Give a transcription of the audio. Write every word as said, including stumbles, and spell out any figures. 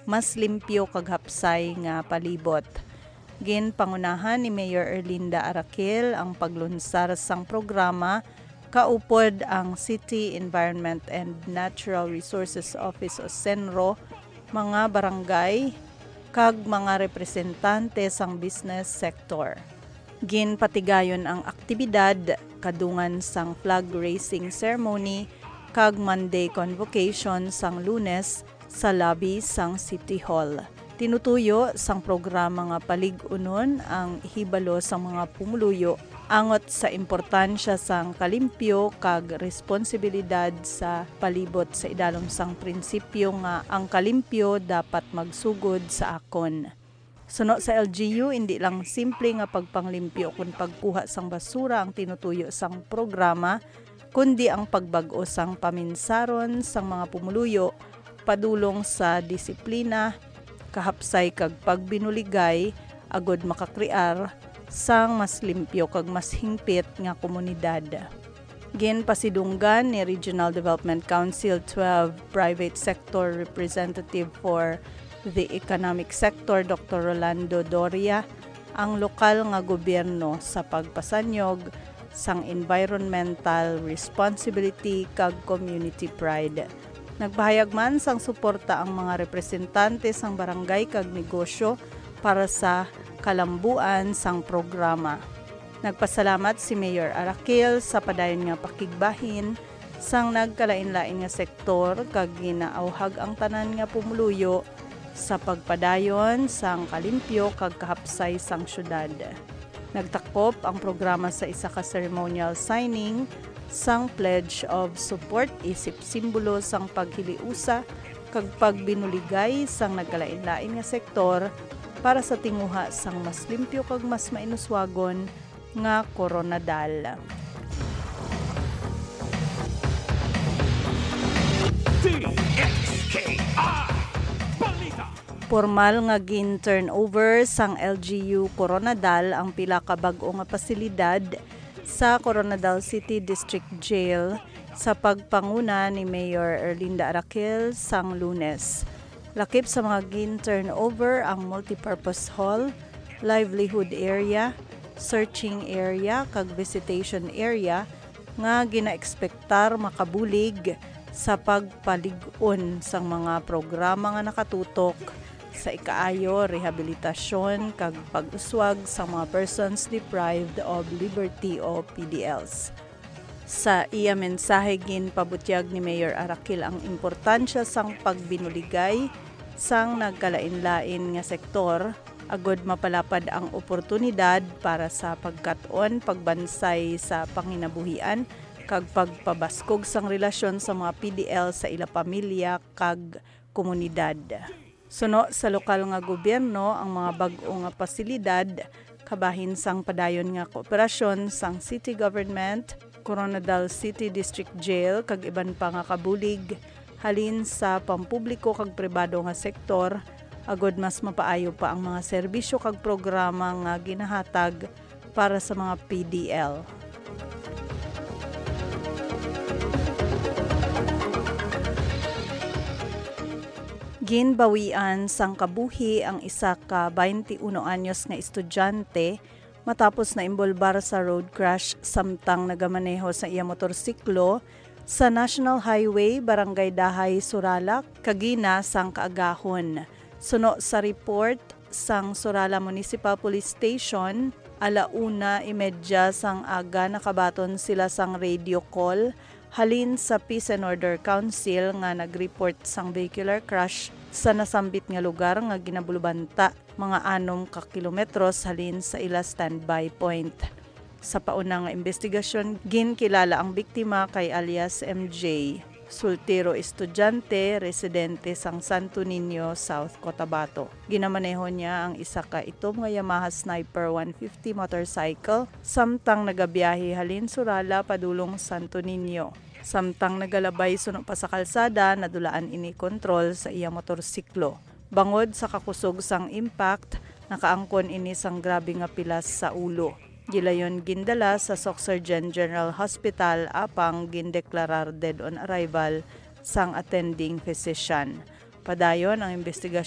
mas limpyo kag hapsay nga palibot. Ginpangunahan ni Mayor Erlinda Araquel ang paglunsar sang programa kaupod ang City Environment and Natural Resources Office o CENRO, mga barangay, kag mga representante sang business sector. Ginpatigayon ang aktibidad kadungan sang flag raising ceremony kag Monday convocation sang Lunes sa lobby sang City Hall. Tinutuyo sang programa nga palig-unon ang hibalo sang mga pumuluyo angot sa importansya sang kalimpyo kag responsibilidad sa palibot sa idalom sang prinsipyo nga ang kalimpyo dapat magsugod sa akon. Suno sa L G U, indi lang simple nga pagpanglimpyo ukon pagkuha sang basura ang tinutuyo sang programa, kundi ang pagbag-o sang paminsaron sang mga pumuluyo padulong sa disiplina, kahapsay kag pagbinuligay agod makakrear sang mas limpyo kag mas hingpit nga komunidad. Ginpasidunggan ni Regional Development Council twelve Private Sector Representative for the Economic Sector, Doktor Rolando Doria, ang lokal nga gobyerno sa pagpasanyog sang environmental responsibility kag community pride. Nagpahayag man sang suporta ang mga representante sang barangay kag negosyo para sa kalambuan sang programa. Nagpasalamat si Mayor Araquel sa padayon nga pakigbahin sang nagkalainlain nga sektor kag ginaawhag ang tanan nga pumuluyo sa pagpadayon sang kalimpyo kag kahapsay sang syudad. Nagtakop ang programa sa isa ka ceremonial signing sang Pledge of Support isip simbolo sang paghiliusa kag pagbinuligay sang nagkalainlain nga sektor para sa tinguha sang mas limpyo kag mas mainuswagon nga Koronadal. D X K I Balita. Pormal nga gin-turnover sang L G U Koronadal ang pila ka bag-o nga pasilidad sa Koronadal City District Jail sa pagpanguna ni Mayor Erlinda Araquel sang Lunes. Lakip sa mga gin-turnover ang multipurpose hall, livelihood area, searching area, kag visitation area nga ginaekspektar makabulig sa pagpalig-on sang mga programa nga nakatutok sa ikaayo, rehabilitasyon, kag pag-uswag sang mga persons deprived of liberty o P D Ls. Sa iya mensahe, ginpabutyag ni Mayor Araquel ang importansya sang pagbinuligay sang nagkalainlain nga sektor agod mapalapad ang oportunidad para sa pagkat-on, pagbansay sa panginabuhian, kag pagpabaskog sang relasyon sa mga P D L sa ila pamilya kag komunidad. Suno sa lokal nga gobyerno, ang mga bag-o nga pasilidad kabahin sang padayon nga kooperasyon sang city government, Koronadal City District Jail, kag iban pa nga kabulig halin sa pampubliko kag pribado nga sektor, agod mas mapaayo pa ang mga serbisyo kag programa nga ginahatag para sa mga P D L. Ginbawian sang kabuhi ang isa ka twenty-one anyos nga estudyante matapos naimbolbar sa road crash samtang nagamaneho sa iya motorsiklo sa National Highway, Barangay Dahay, Suralak, kagina sang kaagahon. Suno sa report sang Suralak Municipal Police Station, ala una imedya sang aga nakabaton sila sang radio call halin sa Peace and Order Council nga nag-report sang vehicular crash sa nasambit nga lugar nga ginabulubanta mga anom ka kilometros halin sa ila standby point. Sa pauna nga imbestigasyon, ginkilala ang biktima kay alias M J, soltero estudyante, residente sang Santo Niño, South Cotabato. Ginamaneho niya ang isa ka itom nga Yamaha Sniper one fifty motorcycle samtang nagabiyahe halin Suralak padulong Santo Niño. Samtang nagalabay suno pa sa kalsada, nadulaan ini kontrol sa iya motorsiklo. Bangod sa kakusog sang impact, nakaangkon ini sang grabe nga pilas sa ulo. Gilayon gindala sa Socsurgeon General Hospital apang gindeklarar dead on arrival sang attending physician. Padayon ang imbestigasyon